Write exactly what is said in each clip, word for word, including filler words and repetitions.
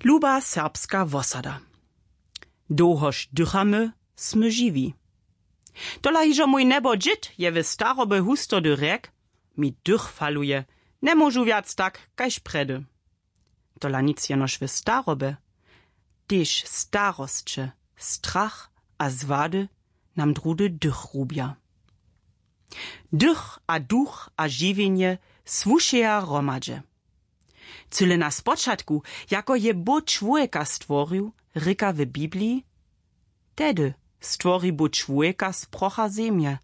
Luba serbska wosada. Dołhož dychamy, smy žiwi. Tola hižo mój njebo dźěd je w staroby hustody rjek: „Mi dych faluje, njemóžu wjac tak kaž prjedy.” Tola nic jenož w staroby, tež starosće, strach a zwady nam druhdy dych rubja. Dych a duch a žiwjenje słušeja hromadźe. Cyle na spočatku, jako je Bóh čłowjeka stworił, rěka w Bibliji: „Tehdy stwori Bóh čłowjeka z procha zemje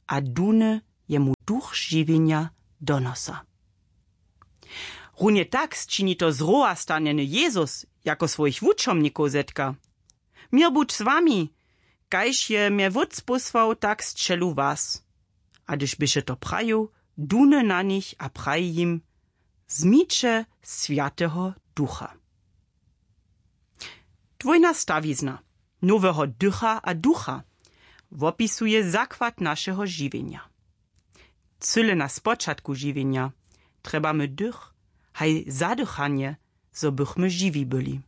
a dune jemu duch žiwjenja do nosa.” Runje tak sčini to zrowastanjeny Jezus, jako swojich wučomnikow zetka: „Měr budź z wami, kaž je mje Wótc pósłał, tak sćelu was.” A hdyž běše to prajił, dune na nich a praji jim: „Wzmiće Swjateho Ducha.” Dwójna stawizna noweho dycha a ducha wopisuje zakład našeho žiwjenja. Cyle na spočatku žiwjenja trjebamy dych, haj zadychanje, zo bychmy žiwi byli.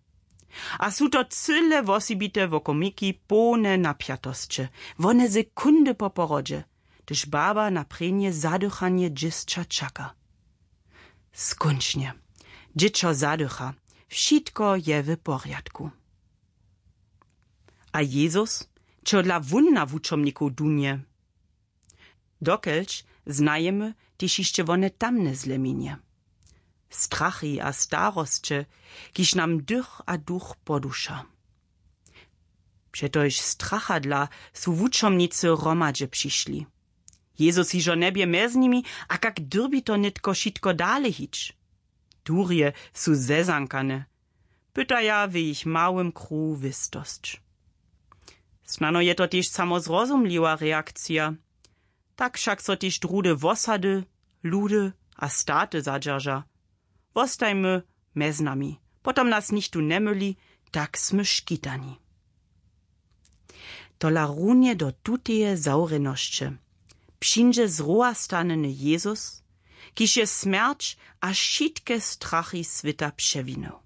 A su to cyle wosebite wokomiki, połne napjatosće, wone sekundy po porodźe, hdyž baba na prěnje zadychanje dźěsća čaka. Skónčnje, dźěćo zadycha, wšitko je w porjadku. A Jezus, čehodla wón na wučomnikow dunje? Dokelž znajemy tež hišće wone tamne zleminje, strachy a starosće, kiž nam dych a duch poduša. Přetož strachadla su wučomnicy hromadźe přišli. Jezus hižo njebě mjez nimi, a kak dyrbi to nětko wšitko dale hić? Durje su zezankane, pytaja w jich małym kruhu wěstosć. Snano je to tež samo zrozumliwa reakcija. Tak wšak so tež druhdy wosady, ludy a staty zadźerža: „Wostajmy mjez nami, potom nas nichtó njemyli, tak smy škitani.” Tola runje do tuteje zawrjenosće přińdźe zrowastanjeny Jezus, kiž je smjerć a wšitke strachy swěta přewinył.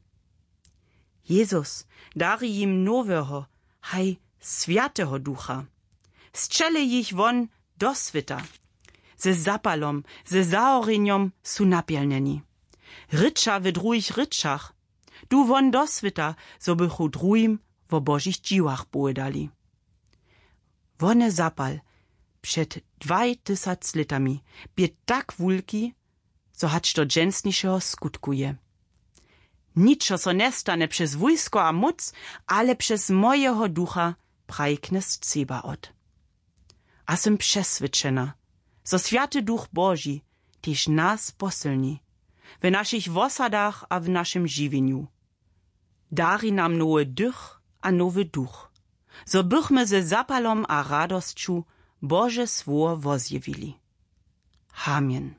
Jezus dari jim noweho, haj Swjateho Ducha. Sćele jich won do swěta. Ze zapalom, ze zahorjenjom su napjelnjeni. Rěča w druhich rěčach. Du won do swěta, zo bychu druhim wo Božich dźiłach powědali. Wone zapal před dwaj tysac lětami bě tak wulki, zo hač do dźensnišeho skutkuje. „Ničo so njestanje přez wójsko a móc, ale přez mojeho ducha”, praji knjez Cebawot. A sym přeswědčena, zo Swjaty Duch Boži tež nas posylni w našich wosadach a w našim žiwjenju. Dari nam nowy dych a nowy duch, zo bychmy ze zapalom a radosću Bože słowo wozjewili. Amen.